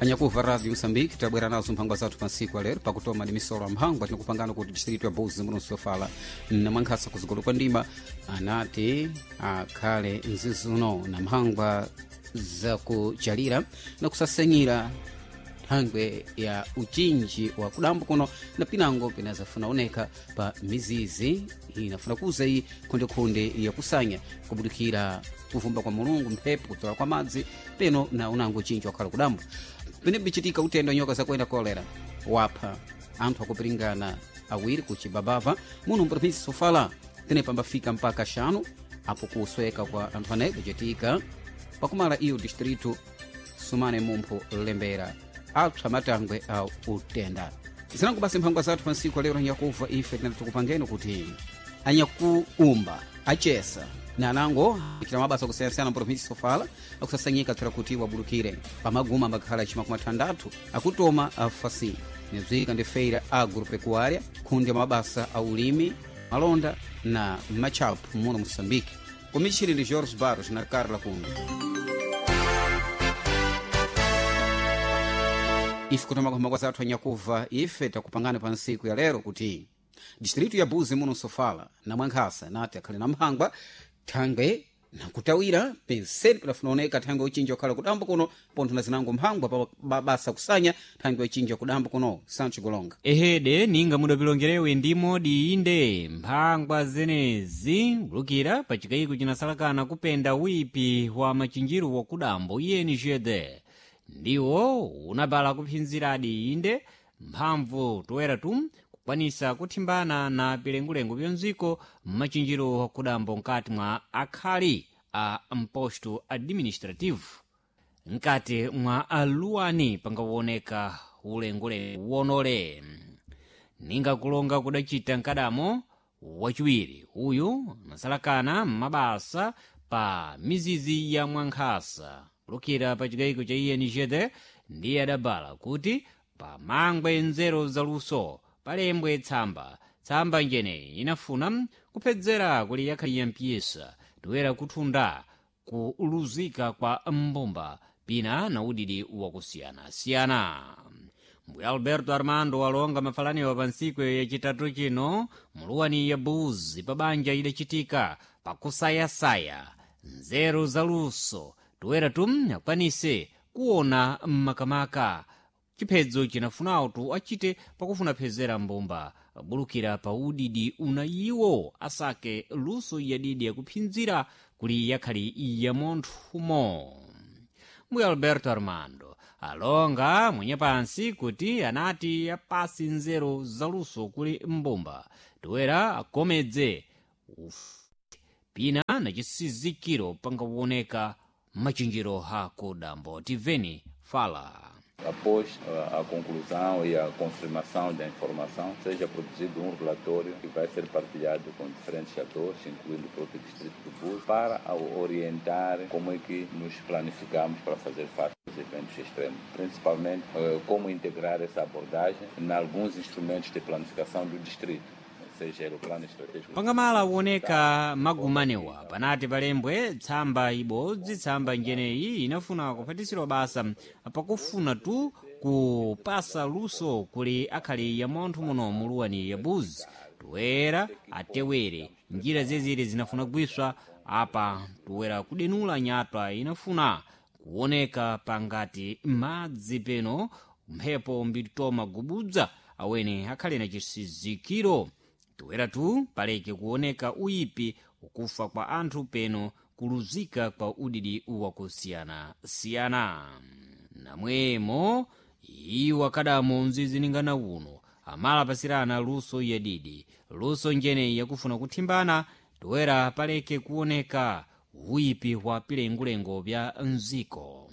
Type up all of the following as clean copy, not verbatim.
Anyakuva Radio Moçambique, tabwera nazo mphangwa zathu pansiku alero pakutoma ndi misolo ya mphangwa. Tinakupangana kuti distrito ya Buzi muno Sofala na Mwankhasa kuzikolo kwa ndima anati akhale mzizuno na mphangwa zakuchalira na kusasenyera thangwe ya uchinji wa kudambo kuno na pinango pinazafuna oneka pa mizizi inafuna kuza iyi khondekhonde yakusanya kubudikira kuvumba kwa Mulungu, mphepo, kudzola kwa madzi peno na unango uchinji wakhala kudambo. Pene bichitika utendo nyoka zakuenda kolera wapha anthu akupiringana awiri kuchibabava muno mprovinsi Sofala, pene pambafika mpaka xanu apo kusweka kwa anthu anayi kuchitika pakumala iyo distrito sumane mumpho lembera apsa matangwe a utenda. Zinango basi mphangwa zathu pansiku lero nyakuva. Ife tinati tikupangeni kuti anyakuumba achesa na anango achita mabasa akusiyanasiyana mprovinsi Sofala akusasanyika tsira kuti wabulukire pamaguma ambakhala chimakumi athandathu akutoma afasi nibzika ndi feira agropecuária, khundi ya mabasa a ulimi, malonda na machapu muno Moçambique. Komixini ndi Jorge Barros na Carla Kundo. Ife kutoma kuhamba zathu anyakuva, ife takupangana pa nsiku ya lero kuti distritu ya Buzi muno Sofala na Mwankhasa nati akhale na mphangwa thangwe nakutawira penseni padafuna oneka thangwe uchinji wakhala kudambo kuno pontho na zinango mphangwa pa mabasa kusanya thangwe uchinji wakudambo kuno. Sancho Golonga. Ehede, ninga mudapilongerewe ndi modi inde mphangwa zenezi kulukira pa chikayiko chinasalakana kupenda wipi wa machinjiro wakudambo INGD ndiwo unabala kuphinziradi inde mphamvu toera tu kukwanisa kuthimbana na pilengulengu pyonziko mmachinjiro wakudambo nkati mwa akhali a mposto administrativo nkati mwa aluwani pangaoneka ulengulengu wonole. Ninga kulonga kudachita nkadamo wachiwiri uyu anasalakana m'mabasa pa mizizi ya Mwankhasa kulukira pa chikayiko cha INGD ndiye adabala kuti pamangwe nzeru zaluso palembwe tsamba. Tsamba njeneyi inafuna kuphedzera kuli yakhali ya mpiyesa toera kuthunda kuluzika kwa mbumba pina na udidi wakusiyanasiyana. Mbuya Alberto Armando walonga mafalaniwa pa ntsiku yachitatu chino muluwani ya Buzi pa banja idachitika pakusayasaya nzeru zaluso toera tum akwanise kuona mmakamaka chiphedzo chinafunawo tu achite pakufuna phezera mbumba bulukira pa udidi una iwo asake luso yadidi yakuphinzira kuli yakhali ya monthumo. Mbuya Alberto Armando alonga mwenye pansi kuti anati apasi nzeru zaluso kuli mbumba toera akomedze pina na chisizikiro pangaoneka machinjiro hakudambo. Tiveni fala. Após a conclusão e a confirmação da informação, seja produzido um relatório que vai ser partilhado com diferentes atores, incluindo o próprio Distrito do Búzios, para orientar como é que nos planificamos para fazer face aos eventos extremos. Principalmente, como integrar essa abordagem em alguns instrumentos de planificação do distrito. Seja o plano estratégico. Pangamala kuoneka magumanewa panati palembwe tsamba ibodzi. Tsamba njeneyi inafuna kuphatisirwa basa pakufuna tu kupasa luso kuli akhali ya montho muno muluwani ya Buzi toera atewere njira zezire zinafuna kugwiswa apa toera kudenula nyatwa inafuna kuoneka pangati madzi peno mphepo mbitoma gubudza awene akhale na chisizikiro toera tu paleke kuoneka uyipi ukufa kwa anthu peno kuluzika kwa udidi wakusiyanasiyana. Namwemo iwo akadamo mziziningana uno amalapasirana luso yadidi, luso njeneyi yakufuna kuthimbana toera paleke kuoneka uyipi wa pilengulengo bya mziko.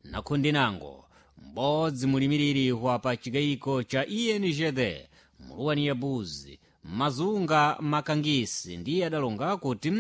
Nakhundinango m'bodzi mulimiriri wa pa chikayiko cha INGD muluwani ya Buzi Mazunga Makangisi ndiye adalonga kuti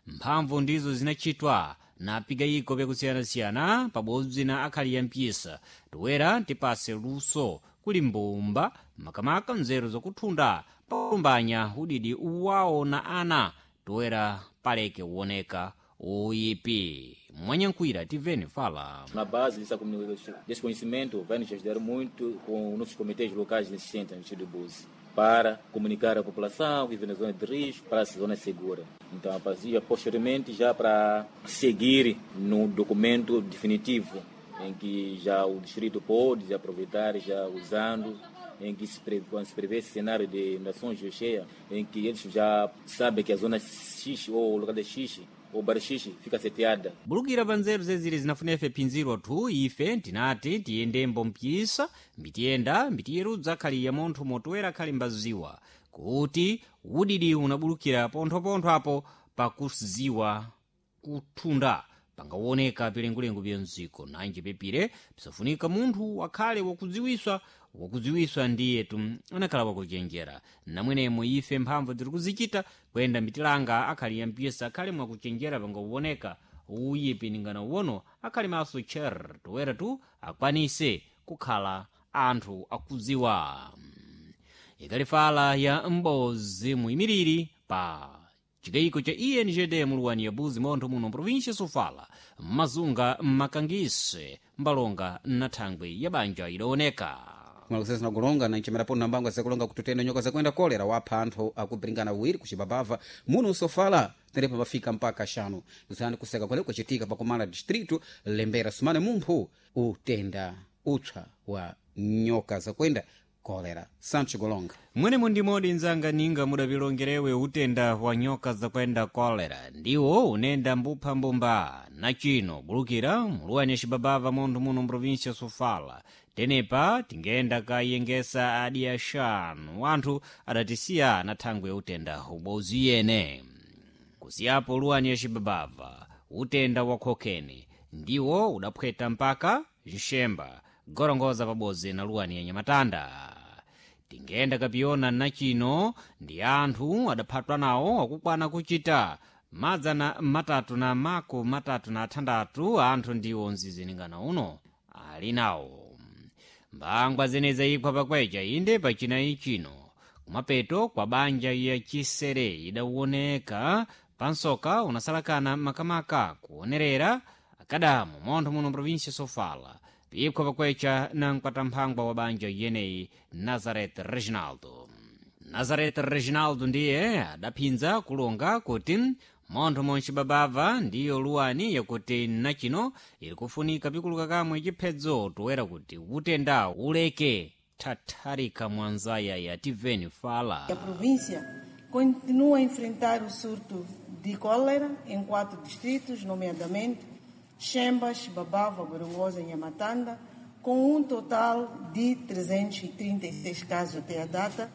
mphamvu ndizo zinachitwa na pigayiko pyakusiyanasiyana pabodzi na akhali ya mpyisa toera tipase luso kuli mbumba makamaka nzeru zakuthunda pakumbanya udidi wawo na ana toera paleke kuoneka. Uyipi mwanyankhwira tiveni fala. Na base dessa comunicação, desse conhecimento, vai nos ajudar muito com os nossos comitês locais existentes no distrito de Búzi, para comunicar à população que vive na zona de risco para a zona segura. Então, a partir, posteriormente, já para seguir no documento definitivo, em que já o distrito pode aproveitar, já usando, em que se prevê, quando se prevê esse cenário de inundações de cheia, em que eles já sabem que a zona X ou o local de X ou bairro X fica seteada. Bulukira pa nzeru zeziri zinafunefe phinziro thu ife tinati tiyendembo mpyisa mbitiyenda mbitiyerudza khali ya munthu motoera khali mbaziwa kuti udidi unabulukira ponthopontho apo pakuziwa kuthunda pangawoneka pilengulengu bya mziko nanji pepire pisafunika munthu akhale wakudziwiswa wakudziwiswa ndiyetu anakhala wakuchenjera namwenemo ife mphamvu tiri kuzichita kuyenda mitilanga akhali ya mpisa akhale mwakuchenjera pangawoneka uyipi ningana uwono akhali maso cher toera tu akwanise kukhala anthu akudziwa. Ikalifala ya mbozi muyimiriri pa chikayiko cha ENGD muluwani ya Buzi montho muno província Sofala mmazunga mmakangise mbalonga na thangwi ya banja idaoneka. Kumalakusesa nakulonga na nchimerapo nambangwa zakulonga kututenda nyoka zakuenda kolera wapha anthu akubiringana awiri kuchibabava muno usofala terepa pafika mpaka xanu zani kuseka kwale kuchitika pakumala distrito lembera sumane mumphu utenda utsa wa nyoka zakuenda kolera Sancho Golonga. Mwenemo ndimodi nzanga ninga mudapilongerewe utenda wa nyoka zakuenda kolera ndiwo unenda mbupha mbumba na chino bulukira muluwani cibabava munthu muno mprovinsia Sofala tenepa tingenda kayengesa adi axanu anthu adatisiya na thangwi ya utenda ubozi yene. Kusiyapo luwani ya cibabava utenda wa khokeni ndiwo udaphweta mpaka nxemba gorongoza pabodzi na luwani ya nyamatanda. Tingenda kapiyona nachino ndi anthu adaphatwa nawo akukwana kuchita madzana matatu na mako matatu na athandathu anthu ndiwo mziziningana uno ali nawo. Mbangwa zeneza ikhwa pakwecha inde pachinayi chino kumapeto kwa banja ya chisere idawoneka pansoka unasalakana makamaka kuonerera akadamu montho muno província Sofala pikhwa pakwecha na mkwatamphangwa wa banja yeneyi Nazareth Reginaldo. Nazareth Reginaldo ndiye adaphinza kulonga kuti montho moncibabava ndiyo luwani yakuti nachino ili kufunika pikuluka kamwe chiphedzo toera kuti utenda uleke thatharika mwanzaya ya tiveni fala. A província continua a enfrentar o surto de cólera em 4 distritos, nomeadamente Chemba, Chibabava, Gorongosa e Nhamatanda, com um total de 336 casos até a data.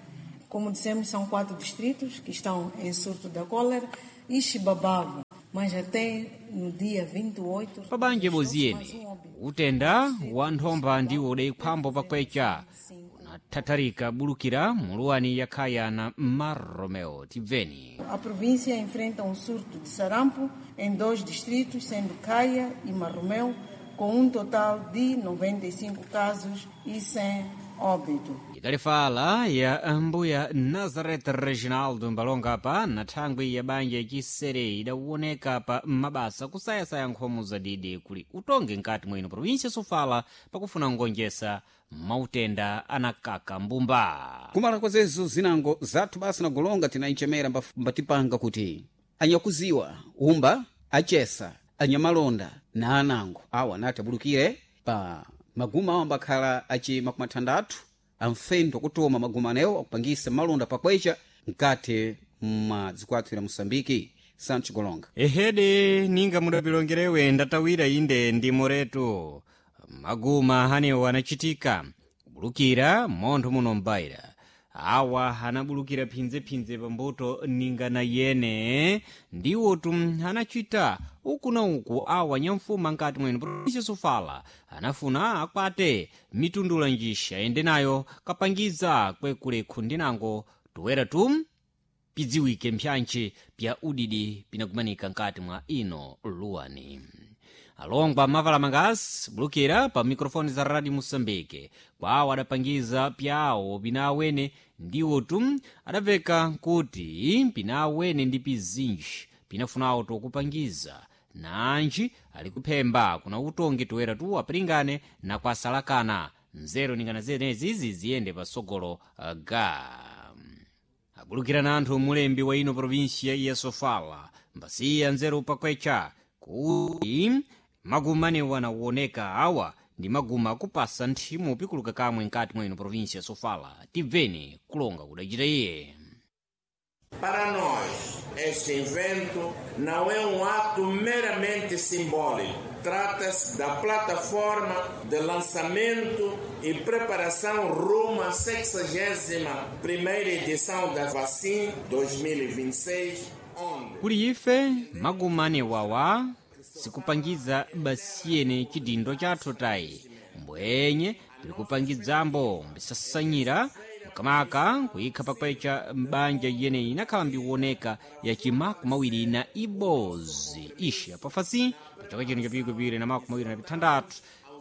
Como dissemos, são 4 distritos que estão em surto da cólera e Chibabava, mas até no dia 28... Pabanja boziene, utenda wa nthomba ndiwo udaikhwambo pakwecha unathatharika bulukira muluwani yakhaya na Marromeo. Tibveni. A província enfrenta um surto de sarampo em 2 distritos, sendo Caia e Marromeu, com um total de 95 casos e 100 óbito. Ikalifala ya mbuya Nazareth Reginaldo mbalonga pa na thangwi ya banja yachisere idawoneka pa mabasa kusayasaya nkhomo zadidi kuli utonge nkati mwino província Sofala pakufuna ngonjesa mautenda anakaka mbumba. Kumala kwazezo zinango zathu basi nagolonga tinaichemera mbatipanga kuti anyakuziwa umba achesa anyamalonda na anango awa nati abulukire pa maguma awo ambakhala achi makumi athandathu amfendo kutoma maguma anewo akupangisa malonda pakwecha mkati mwa dzikwathu la Moçambike. Sancho Golonga. Ehede ninga mudapilongerewe ndatawira inde ndi moretu maguma hanewo anachitika kubulukira montho muno mbaira awa anabulukira phinzephinze pambuto ningana yene ndiwotu anachita uku na uku awa nyamfuma nkati mwene província Sofala anafuna akwate mitundula njisha ende nayo kapangiza kwekulekhu ndinango toera tu pidziwike mphyantchi pya udidi pinakumanika nkati mwa ino luwani. Alongwa mavala mangasi bulukira pa mikrofoni za Radio Moçambique kwawo adapangiza pyawo pinawene ndiwotu adapeka kuti pinawene ndi pizinji pinafunawo tokupangiza Nanji ali kuphemba kuna utongi toera tu apilingane na kwasalakana nzeru ningana zenezizi ziyende pasogolo ga abulukirana anthu mulembi wa ino provinsia ya Sofala mbasiya nzeru pakwecha kuti maguma anewa nawoneka awa ndi maguma akupasa nthimu pikuluka kamwe nkati mwa ino provinsia ya Sofala. Tibveni kulonga kudachita iye. Para nós, este evento não é ato meramente simbólico. Trata-se da plataforma de lançamento e preparação rumo à 61ª edição da Vacin 2026, onde... Kuli ife maguma anewawa sikupangiza basiyene chidindo chathu tayi, mbwenye tili kupangidzambo mbisasanyira makamaka kuyikha pakwecha m'banja yeneyi inakhala mbikuoneka ya chimakumi awiri na ibodzi ishi apafasi pachaka chino cha pikwi na 26.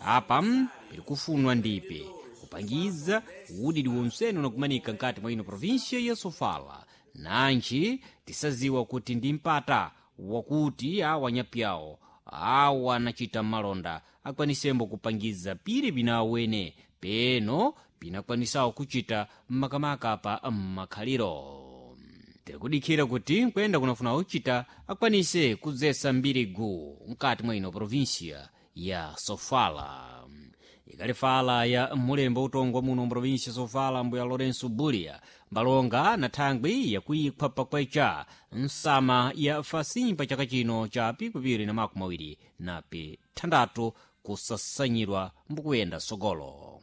Apa pili kufunwa ndipe kupangiza udidi wonsene unakumanika nkati mwa ino provinsia ya Sofala. Nanji tisaziwa kuti ndi mpata wakuti awa nyapyawo awa anachita malonda akwanisembo kupangiza pili pinawene peno pinakwanisawo kuchita makamaka pa makhaliro. Tikudikhira kuti kuyenda kunafuna kuchita akwanise kudzesa mbirigu mkati mwa ino provinsia ya Sofala. Ikali fala ya mulembo utongwa muno mprovinsia Sofala mbuya Lourenço Bulia mbalonga na thangwi yakuikhwa pakwecha nsama ya fasimba chaka chino cha 2026 kusasanyidwa mbukuyenda sogolo.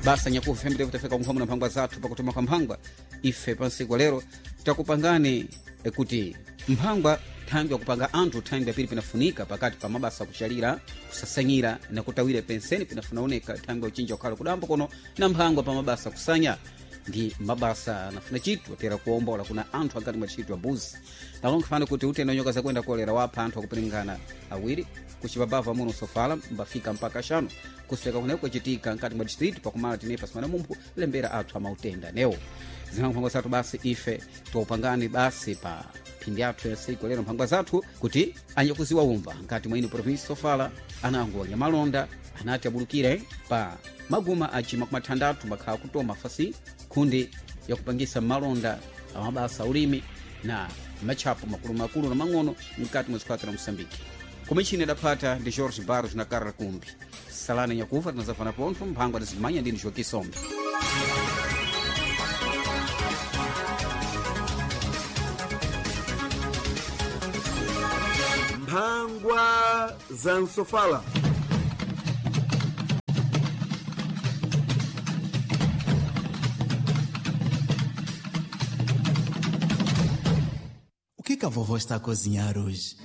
Basa nyakufa fembere kutafika kumphamvu na mphangwa zathu pakutuma kwa mphangwa ife pansiku lero takupangani kuti mphangwa thangwi yakupanga anthu thangwi yapiri pinafunika pakati pa mabasa akuchalira, kusasanyira na kutawira penseni pinafunaoneka thangwi yakuchinja kukhala kudambo kono na mphangwa pa mabasa kusanya ndi mabasa anafuna chitu atera kuombola kuna anthu angati mwa tchito abuzi nalonkhafana kuti utenda nyoka zakuenda kolera wapha anthu akupiringana awiri kuchipabava muno Sofala mbafika mpaka axanu kusweka kuneko kwachitika nkati mwa distrito pakumala tinepa simana mumphu lembera athu amautenda newo zinamphangwa zathu basi ife tiwaupangani basi pa phindi athu ya siku lero mphangwa zathu kuti anyakuziwa umba nkati mwa ino provinsi Sofala anango anyamalonda anati abulukire pa maguma aci makumi athandathu makhala kutoma fasi khundi yakupangisa malonda amabasa ulimi na matchapo makulumakulu na mang'ono mkati mwa zikwatira Moçambique. Kumichini adaphata ndi George Barros na Carla Kumbi. Salani nyakufa tinazafana pontho mphangwa tizimanya ndini Joaquim Sombe. Mphangwa za Nsofala. O que que a vovó está a cozinhar hoje?